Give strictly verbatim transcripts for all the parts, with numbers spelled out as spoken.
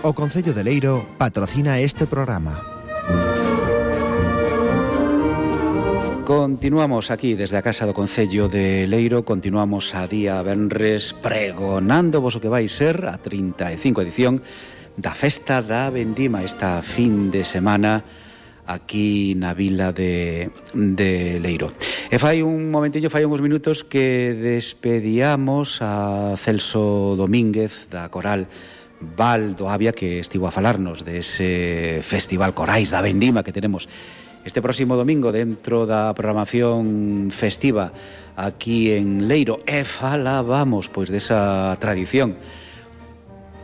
O Concello de Leiro patrocina este programa. Continuamos aquí desde a Casa do Concello de Leiro. Continuamos a día venres pregonando vos o que vai ser a trinta e cinco edición da Festa da Vendima esta fin de semana aquí na vila de, de Leiro. E fai un momentillo, fai uns minutos que despedíamos a Celso Domínguez da Coral Val do Avia, que estivo a falarnos dese Festival Corais da Vendima que tenemos este próximo domingo dentro da programación festiva aquí en Leiro. E falábamos pois desa tradición.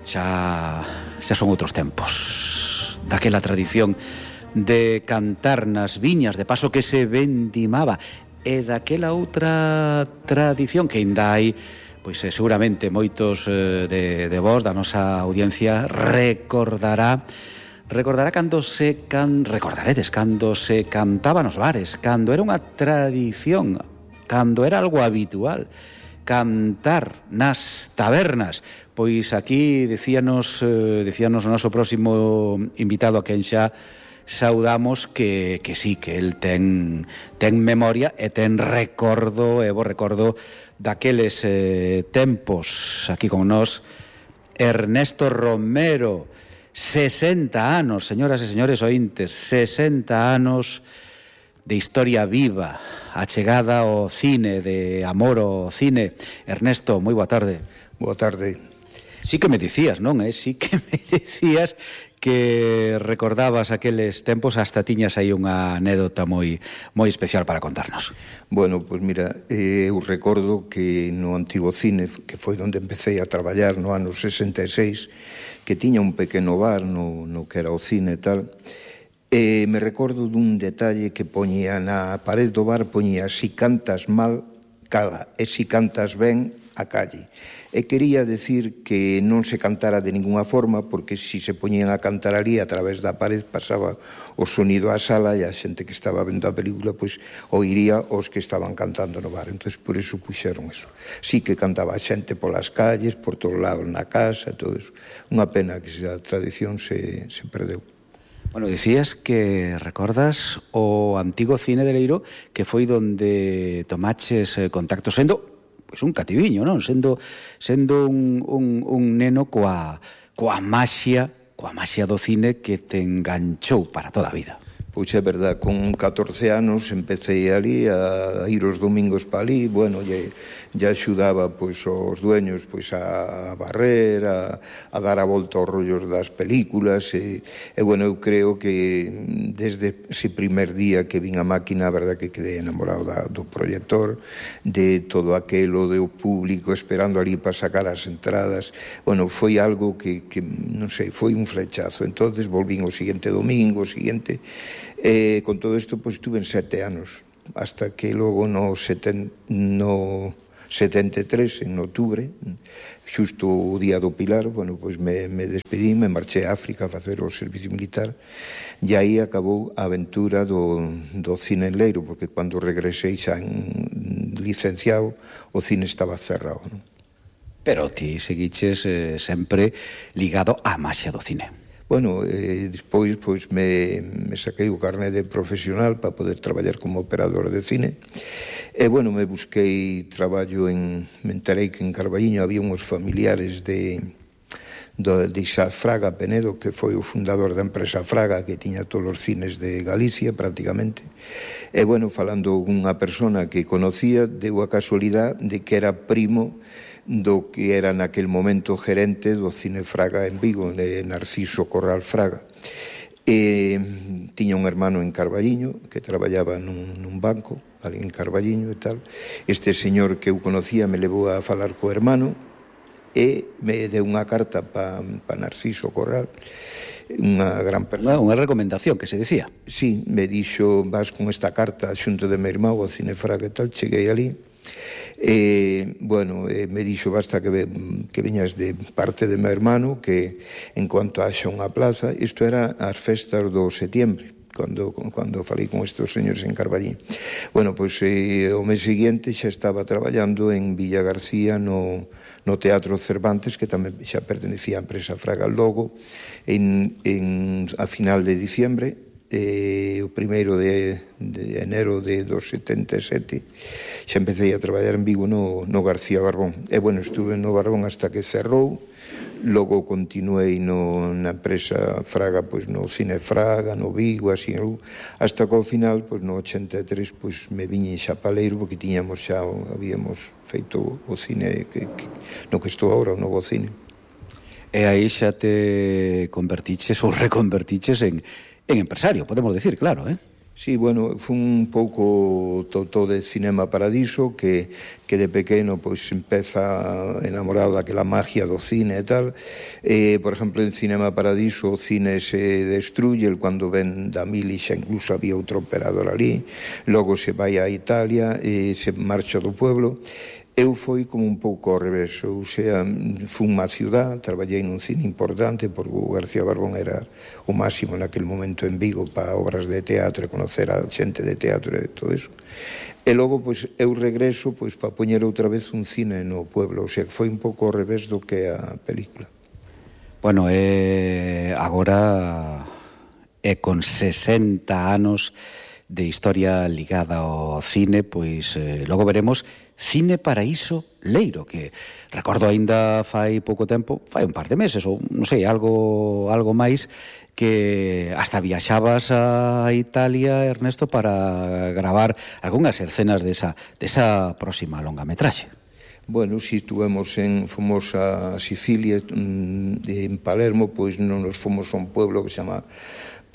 Xa, xa son outros tempos, daquela tradición de cantar nas viñas de paso que se vendimaba, e daquela outra tradición que ainda hai, pois eh, seguramente moitos eh, de, de vos da nosa audiencia recordará recordará cando se can, recordaredes cando se cantaba nos bares, cando era unha tradición, cando era algo habitual cantar nas tabernas. Pois aquí decíanos eh, decíanos o noso próximo invitado, a quen xa saudamos, que, que sí, que el ten, ten memoria e ten recordo, e bo recordo daqueles eh, tempos. Aquí con nós Ernesto Romero, sesenta anos, señoras e señores ointes, sesenta anos de historia viva, a chegada ao cine, de amor ao cine. Ernesto, moi boa tarde. Boa tarde. Sí que me dicías, non? Eh? Sí que me dicías que recordabas aqueles tempos, hasta tiñas aí unha anécdota moi moi especial para contarnos. Bueno, pois pues mira, eh, eu recordo que no antigo cine, que foi onde empecé a traballar no ano sesenta e seis, que tiña un pequeno bar no, no que era o cine e tal, e me recordo dun detalle que poñía na pared do bar, poñía: si cantas mal, cala, e si cantas ben, a calle. E quería decir que non se cantara de ninguna forma, porque si se poñían a cantar ali a través da pared pasaba o sonido á sala, e a xente que estaba vendo a película pois oiría os que estaban cantando no bar. Entón por iso puxeron eso. Sí que cantaba a xente polas calles, por todos lados, na casa, todo eso. Unha pena que a tradición se, se perdeu. Bueno, dicías que recordas o antigo cine de Leiro, que foi donde tomaches eh, contacto, sendo pois un cativiño, non? Sendo sendo un, un, un neno coa, coa maxia, coa maxia do cine que te enganchou para toda a vida. Pois é verdad, con catorce anos empecé ali a ir os domingos para ali, bueno, e ya axudaba pois os dueños pois a barrer, a, a dar a volta aos rollos das películas, e, e bueno, eu creo que desde ese primer día que vin a máquina, a verdad que quedei enamorado da, do proyector, de todo aquelo, de o público esperando ali para sacar as entradas. Bueno, foi algo que, que non sei, foi un flechazo. Entonces volvín o seguinte domingo, o seguinte. E con todo isto, pois, tuve sete anos, hasta que logo no, seten, no setenta e tres, en outubro, xusto o día do Pilar, bueno, pois me, me despedí, me marché a África a facer o servicio militar, e aí acabou a aventura do, do cine en Leiro, porque cando regresei xa en licenciado, o cine estaba cerrado, non? Pero ti seguiches eh, sempre ligado á maxia do cine. Bueno, eh, despois pois me, me saquei o carné de profesional para poder traballar como operador de cine. E, bueno, me busquei traballo en... Me enterei que en Carballiño había uns familiares de, de, de Isaac Fraga Penedo, que foi o fundador da empresa Fraga, que tiña todos os cines de Galicia, prácticamente. E, bueno, falando unha persona que conocía, deu a casualidade de que era primo do que era naquel momento gerente do Cine Fraga en Vigo, de Narciso Corral Fraga. E tiña un hermano en Carballiño que traballaba nun, nun banco ali en Carballiño e tal. Este señor que eu conocía me levou a falar co hermano e me deu unha carta para pa Narciso Corral, unha gran persona. Unha recomendación que se decía. Sí, me dixo: vas con esta carta xunto de meu irmão ao Cine Fraga e tal. Cheguei ali e, bueno, eh, me dixo: basta que, ve, que veñas de parte de meu hermano, que en cuanto haxa unha plaza. Isto era as festas do setiembre, cando, cando falei con estes señores en Carballín. Bueno, pois eh, o mes seguinte xa estaba traballando en Villa García no, no Teatro Cervantes, que tamén xa pertenecía á empresa Fraga Logo, en, en, a final de diciembre, eh, o primeiro de, de enero de dos setenta e sete, xa empecé a traballar en Vigo no, no García Barbón. E, bueno, estuve no Barbón hasta que cerrou, logo continuei no, na empresa Fraga, pois no Cine Fraga, no Vigo, así, hasta que ao final, pois no ochenta e tres, pois me viñe xa Paleiro, porque tiñamos xa, habíamos feito o cine que, que, no que estou agora, o novo cine. E aí xa te convertiches ou reconvertiches en En empresario, podemos decir, claro, eh? Sí, bueno, foi un pouco todo de Cinema Paradiso, que, que de pequeno pois empeza enamorado daquela magia do cine e tal. Eh, por exemplo, en Cinema Paradiso o cine se destruye, el cando ven da mili xa incluso había outro operador ali, logo se vai a Italia e se marcha do pueblo. Eu foi como un pouco ao revés, ou sea, fui unha ciudad, traballei nun cine importante, porque o García Barbón era o máximo naquele momento en Vigo para obras de teatro e conocer a xente de teatro e todo eso. E logo, pois, eu regreso pois para poñer outra vez un cine no pueblo, ou sea, que foi un pouco ao revés do que a película. Bueno, eh, agora é con sesenta anos de historia ligada ao cine, pois eh, logo veremos Cine Paraíso Leiro, que recordo aínda fai pouco tempo, fai un par de meses ou non sei, algo algo máis, que hasta viaxabas a Italia, Ernesto, para gravar algunhas escenas desa desa próxima longametraxe. Bueno, si estuvemos en, fomos a Sicilia, en Palermo, pois non nos fomos a un pueblo que se chama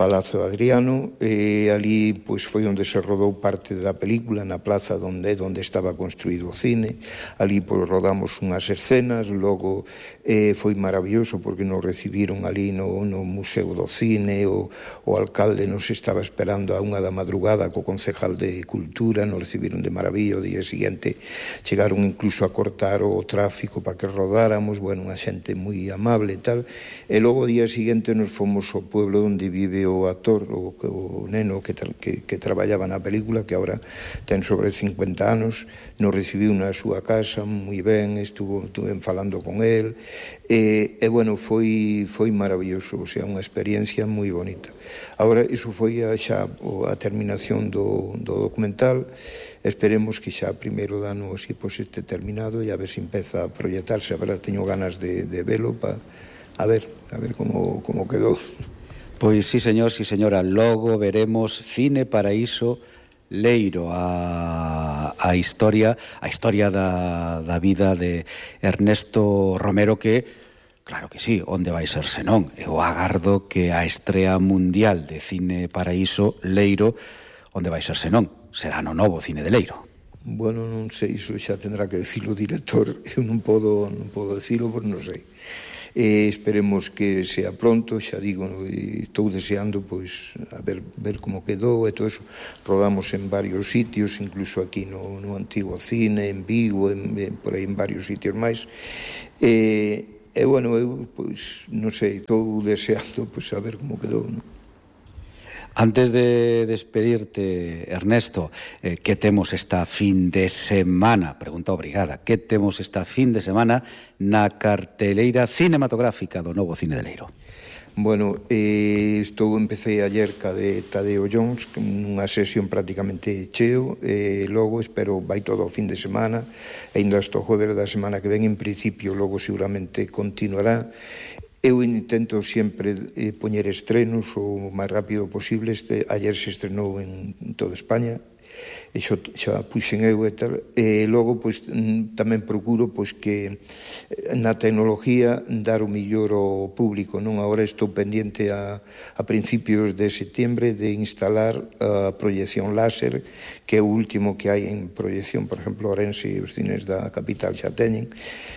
Palacio Adriano, e ali pois foi onde se rodou parte da película, na plaza onde onde estaba construído o cine. Ali pois rodamos unhas escenas, logo eh, foi maravilloso porque nos recibiron ali no, no Museo do Cine, o, o alcalde nos estaba esperando a unha da madrugada co concejal de Cultura, nos recibiron de maravilla. O día seguinte chegaron incluso a cortar o tráfico para que rodáramos, bueno, unha xente moi amable e tal. E logo o día seguinte nos fomos ao pueblo onde vive o actor, o, o neno que, tra, que, que traballaba na película, que agora ten sobre cincuenta anos, nos recibiu na súa casa moi ben, estuvo, estuve falando con él, e, e bueno, foi, foi maravilloso, o sea, unha experiencia moi bonita. Agora, iso foi a, xa a terminación do, do documental. Esperemos que xa primeiro de ano así, pois, este terminado, e a ver se empeza a proyectarse. A verdad, teño ganas de, de velo para a ver, a ver como, como quedou. Pois sí, señor, sí, señora, logo veremos Cine Paraíso Leiro, a, a historia a historia da, da vida de Ernesto Romero, que, claro que sí, onde vai ser senón? Eu agardo que a estrea mundial de Cine Paraíso Leiro, onde vai ser senón? Será no novo Cine de Leiro. Bueno, non sei, iso xa tendrá que decir o director, eu non podo, non podo decirlo, porque non sei. E esperemos que sea pronto, xa digo, estou deseando pois a ver, ver como quedou e todo eso. Rodamos en varios sitios, incluso aquí no, no antigo cine, en Vigo, en, en, por aí en varios sitios máis. E, e bueno, eu pois non sei, estou deseando pois a ver como quedou, non? Antes de despedirte, Ernesto, eh, que temos esta fin de semana? Pregunta obrigada. Que temos esta fin de semana na carteleira cinematográfica do novo Cine de Leiro? Bueno, eh, estou empecé ayer ca de Tadeo Jones, nunha sesión prácticamente cheo, e logo espero vai todo o fin de semana, e ainda hasta o jueves da semana que ven, en principio, logo seguramente continuará. Eu intento sempre eh, poñer estrenos o máis rápido posible. Este, ayer se estrenou en, en toda España, e xo, xa puxen eu e tal, e logo pois tamén procuro pois que na tecnología dar o millor ao público, non? Agora estou pendiente a, a principios de setembro de instalar a proyección láser, que é o último que hai en proyección, por exemplo, Orense e os cines da capital xa teñen.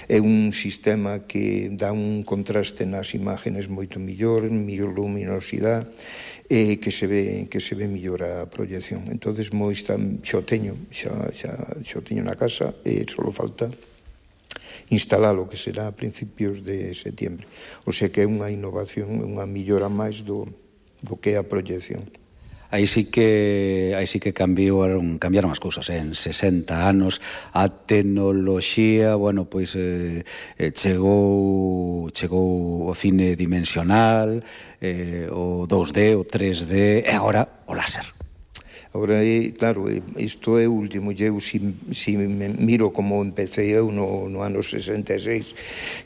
É un sistema que dá un contraste nas imágenes moito millor, millor luminosidade, e que se ve que se ve mellor a proyección. Entonces, moi está, xo teño, xa, xa, xo teño na casa, e só falta instalalo, que será a principios de setembro. O sea que é unha innovación, unha millora máis do, do que é a proyección. aí sí que aí sí que cambiaron, cambiaron as cousas, eh? En sesenta anos a tecnoloxía, bueno, pois eh, chegou chegou o cine dimensional, eh, o dos D, o tres D e agora o láser. Agora, claro, isto é o último. Eu, si, si me miro como empecé eu no, no ano sesenta e seis,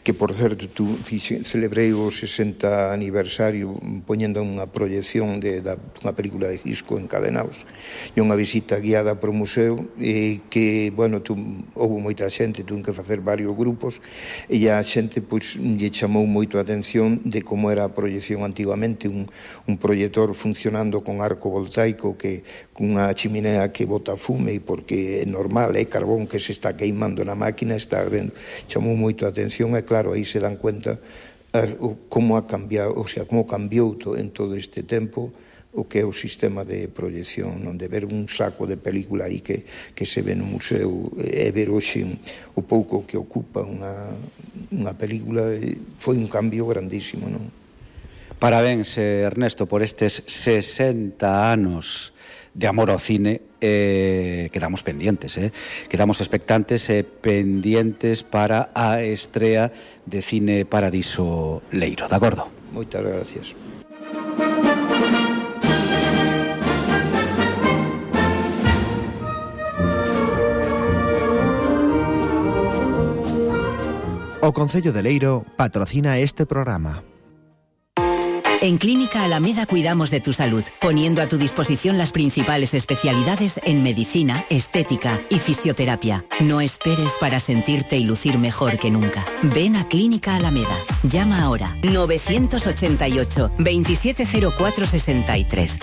que, por certo, tu, fixe, celebrei o sesenta aniversario poñendo unha proyección de, da, unha película de Hitchcock, Encadenados, e unha visita guiada por o museo, e que, bueno, tu, houve moita xente, tuve que facer varios grupos, e a xente, pois, lle chamou moito a atención de como era a proyección antigamente, un, un proyector funcionando con arco voltaico que cunha chimenea que bota fume, porque é normal, é carbón que se está queimando na máquina, está ardendo. Chamou moito a atención e, claro, aí se dan cuenta como ha cambiado, o sea, como cambiou en todo este tempo o que é o sistema de proyección, non de ver un saco de película aí que, que se ve no museo e ver hoxe o pouco que ocupa unha, unha película, foi un cambio grandísimo, non? Parabéns, Ernesto, por estes sesenta anos de amor ao cine. Eh, quedamos pendientes, eh? quedamos expectantes e eh, pendientes para a estrea de Cine Paradiso Leiro, de acordo? Moitas gracias. O Concello de Leiro patrocina este programa. En Clínica Alameda cuidamos de tu salud, poniendo a tu disposición las principales especialidades en medicina, estética y fisioterapia. No esperes para sentirte y lucir mejor que nunca. Ven a Clínica Alameda. Llama ahora nueve ocho ocho, veintisiete cero cuatro sesenta y tres.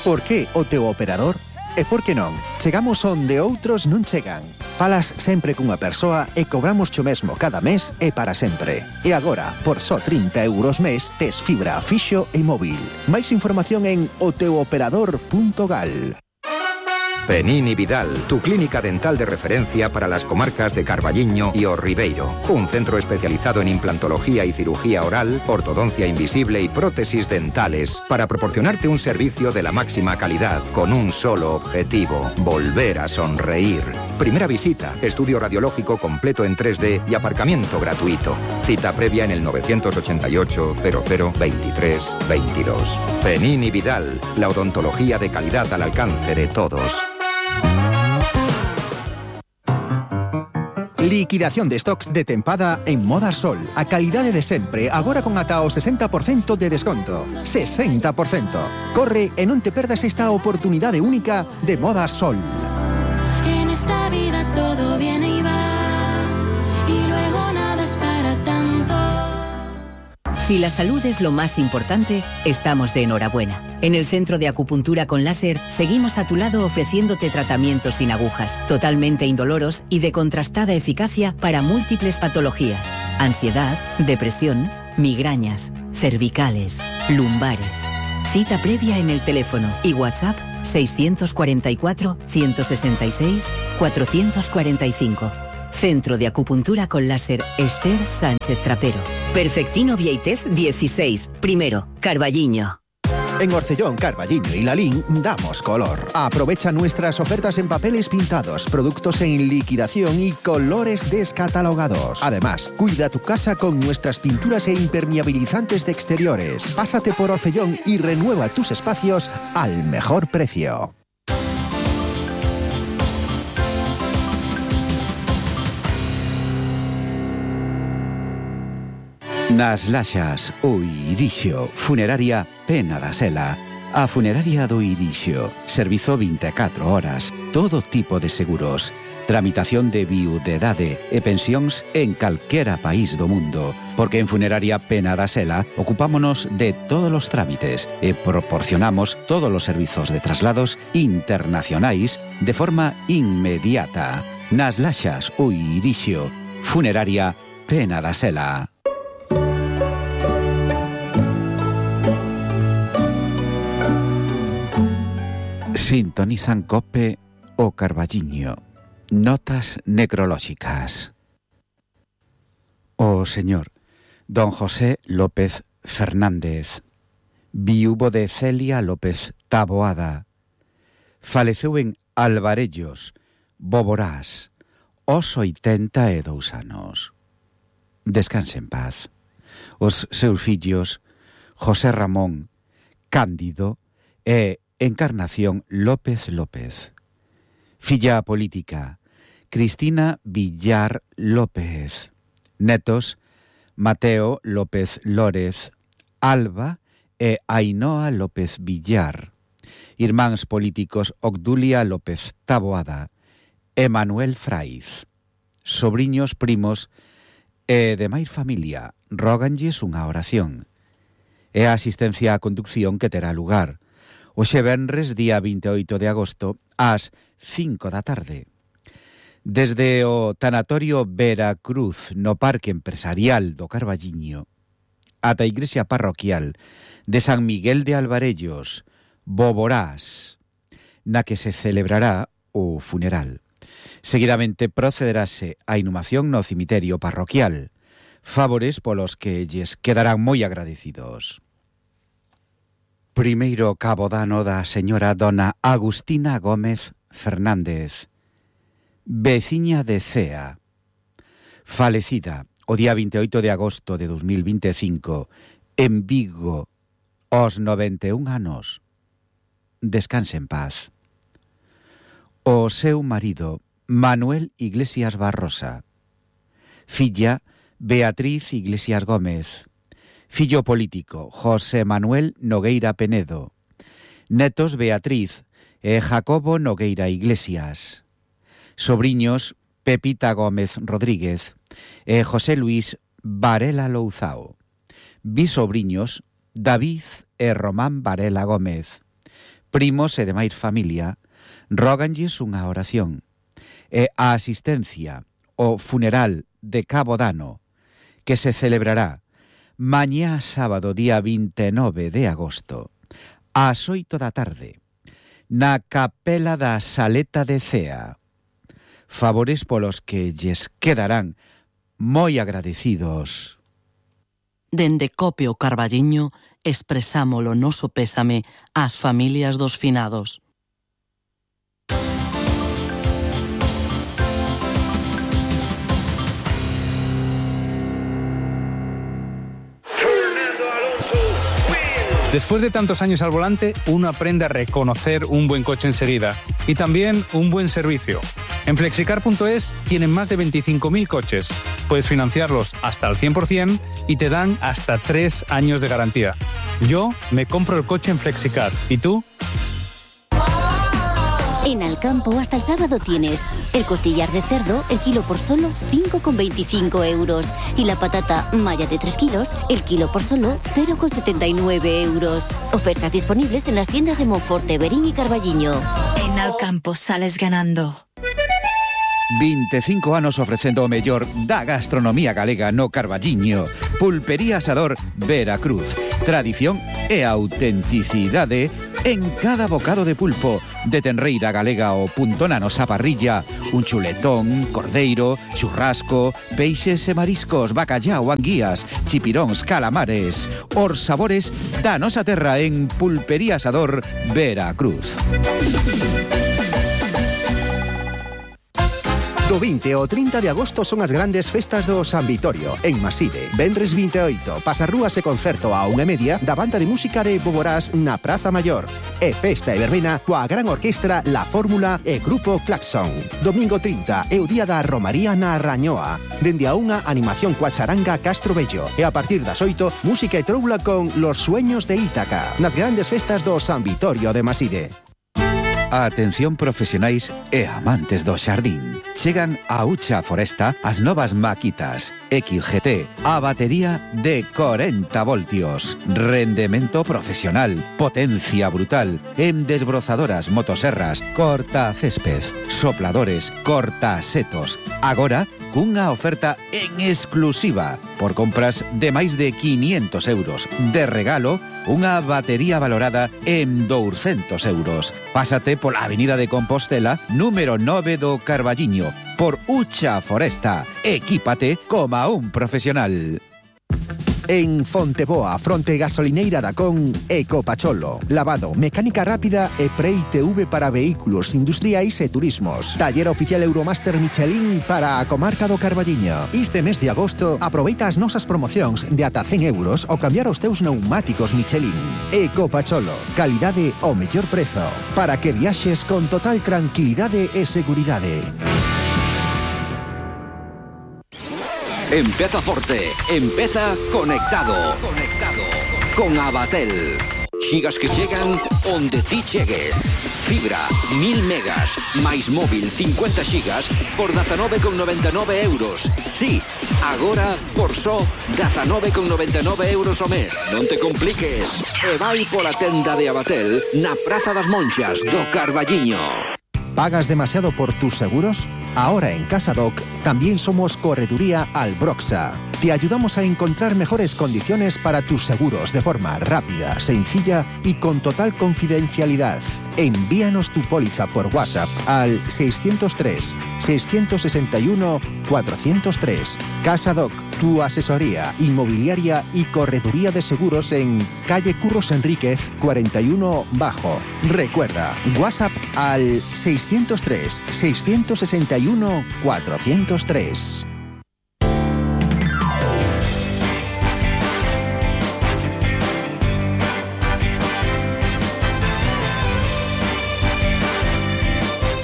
Por que o teu operador? E por que non? Chegamos onde outros non chegan. Falas sempre cunha persoa e cobramos cho mesmo cada mes e para sempre. E agora, por só trinta euros mes, tes fibra fixo e móvil. Máis información en o teu operador punto gal. Penini Vidal, tu clínica dental de referencia para las comarcas de Carballiño y O Ribeiro. Un centro especializado en implantología y cirugía oral, ortodoncia invisible y prótesis dentales para proporcionarte un servicio de la máxima calidad con un solo objetivo: volver a sonreír. Primera visita, estudio radiológico completo en tres D y aparcamiento gratuito. Cita previa en el nueve ocho ocho, cero cero, veintitrés, veintidós. Penini Vidal, la odontología de calidad al alcance de todos. Liquidación de stocks de tempada en Moda Sol. A calidade de sempre, agora con ata o sesenta por cento de desconto. sesenta por cento. Corre e non te perdas esta oportunidade única de Moda Sol. En esta vida todo viene y va, y luego nada es para tanto. Si la salud es lo más importante, estamos de enhorabuena. En el Centro de Acupuntura con Láser seguimos a tu lado ofreciéndote tratamientos sin agujas, totalmente indoloros y de contrastada eficacia para múltiples patologías: ansiedad, depresión, migrañas, cervicales, lumbares. Cita previa en el teléfono y WhatsApp seiscientos cuarenta y cuatro, ciento sesenta y seis, cuatrocientos cuarenta y cinco. Centro de Acupuntura con Láser Esther Sánchez Trapero. Perfectino Vieitez dieciséis, primero, Carballiño. En Orcellón, Carballiño y Lalín damos color. Aprovecha nuestras ofertas en papeles pintados, productos en liquidación y colores descatalogados. Además, cuida tu casa con nuestras pinturas e impermeabilizantes de exteriores. Pásate por Orcellón y renueva tus espacios al mejor precio. Nas Laxas, o Irixio, Funeraria Pena da Sela. A Funeraria do Irixio, servizo vinte e catro horas, todo tipo de seguros, tramitación de viudedade e pensións en calquera país do mundo, porque en Funeraria Pena da Sela ocupámonos de todos os trámites e proporcionamos todos os servizos de traslados internacionais de forma inmediata. Nas Laxas, o Irixio, Funeraria Pena da Sela. Sintonizan COPE o Carballiño. Notas necrolóxicas. O señor don José López Fernández, Viúvo de Celia López Taboada. Faleceu en Alvarellos, Boborás, aos oitenta e dous anos. Descanse en paz. Os seus fillos, José Ramón, Cándido e Encarnación López López. Filla política, Cristina Villar López. Netos, Mateo López Lórez, Alba e Ainhoa López Villar. Irmáns políticos, Obdulia López Taboada e Manuel Fraiz. Sobriños, primos e demais familia, róganlles unha oración. É a asistencia á conducción que terá lugar hoxe venres, día vinte e oito de agosto, ás cinco da tarde. Desde o tanatorio Veracruz no Parque Empresarial do Carballiño ata a igrexa parroquial de San Miguel de Alvarellos, Boborás, na que se celebrará o funeral. Seguidamente procederase a inhumación no cemiterio parroquial, favores polos que lles quedarán moi agradecidos. Primeiro cabodano da señora dona Agustina Gómez Fernández, veciña de Cea, falecida o día vinte e oito de agosto de dos mil vinte e cinco en Vigo, aos noventa e un anos. Descanse en paz. O seu marido, Manuel Iglesias Barrosa. Filla, Beatriz Iglesias Gómez. Fillo político, José Manuel Nogueira Penedo. Netos, Beatriz e Jacobo Nogueira Iglesias. Sobriños, Pepita Gómez Rodríguez e José Luis Varela Louzao. Bisobriños, David e Román Varela Gómez. Primos e demais familia, róganlles unha oración. E a asistencia ao funeral de Cabodano, que se celebrará mañá sábado, día vinte e nove de agosto, ás oito da tarde, na capela da Saleta de Cea. Favores polos que lles quedarán moi agradecidos. Dende Cope o Carballiño expresamos o noso pésame ás familias dos finados. Después de tantos años al volante, uno aprende a reconocer un buen coche enseguida y también un buen servicio. En Flexicar punto es tienen más de veinticinco mil coches. Puedes financiarlos hasta el cien por ciento y te dan hasta tres años de garantía. Yo me compro el coche en Flexicar. ¿Y tú? En Alcampo hasta el sábado tienes el costillar de cerdo, el kilo por solo cinco con veinticinco euros. Y la patata malla de tres kilos, el kilo por solo cero con setenta y nueve euros. Ofertas disponibles en las tiendas de Monforte, Verín y Carballiño. En Alcampo sales ganando. veinticinco anos ofrecendo o mellor da gastronomía galega no Carballiño. Pulpería Asador Veracruz. Tradición e autenticidade en cada bocado de pulpo, de tenreira galega o punto na nosa parrilla, un chuletón, cordeiro, churrasco, peixes e mariscos, bacallao, anguías, chipiróns, calamares, os sabores da nosa terra en Pulpería Asador Veracruz. Do vinte ao trinta de agosto son as grandes festas do San Vitorio, en Maside. Venres vinte e oito, pasarrúas e concerto a unha e media da banda de música de Boborás na Praza Maior. E festa e verbena coa gran orquestra La Fórmula e Grupo Claxon. Domingo trinta é o día da Romaría na Rañoa. Dende a unha animación coa charanga Castro Bello. E a partir das oito, música e troula con Los Sueños de Ítaca. Nas grandes festas do San Vitorio de Maside. Atención profesionais e amantes do xardín. Chegan a Ucha Foresta as novas maquitas X G T, a batería de corenta voltios, rendemento profesional, potencia brutal, en desbrozadoras, motoserras, corta césped, sopladores, corta setos. Agora, cunha oferta en exclusiva, por compras de máis de quinientos euros. De regalo, unha batería valorada en douscentos euros. Pásate pola Avenida de Compostela, número nove do Carballiño, por Ucha Foresta. Equípate como un profesional. En Fonteboa, fronte gasolineira da Con, Ecopacholo. Lavado, mecánica rápida e Pre-I T V para vehículos industriais e turismos. Taller oficial Euromaster Michelin para a comarca do Carballiño. Este mes de agosto, aproveita as nosas promocións de ata cen euros ao cambiar os teus pneumáticos Michelin. Ecopacholo, calidade ao mellor prezo, para que viaxes con total tranquilidade e seguridade. Empeza forte, empeza conectado. Conectado con Abatel. Xigas que chegan onde ti chegues. Fibra, mil megas, máis móvil cincuenta xigas por dezanove con noventa e nove euros. Sí, agora por só dezanove con noventa e nove euros ao mes. Non te compliques. E vai pola tenda de Abatel na Praza das Monxas do Carballiño. ¿Pagas demasiado por tus seguros? Ahora en Casadoc también somos Correduría Albroxa. Te ayudamos a encontrar mejores condiciones para tus seguros de forma rápida, sencilla y con total confidencialidad. Envíanos tu póliza por WhatsApp al seiscientos tres, seiscientos sesenta y uno, cuatrocientos tres. Casadoc, tu asesoría inmobiliaria y correduría de seguros en calle Curros Enríquez cuarenta y uno Bajo. Recuerda, WhatsApp al seiscientos tres, seiscientos sesenta y uno, cuatrocientos tres.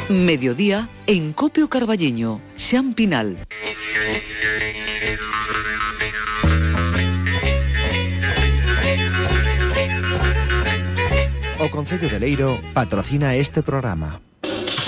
Mediodía en Copio Carballiño, Xan Pinal. O Concello de Leiro patrocina este programa.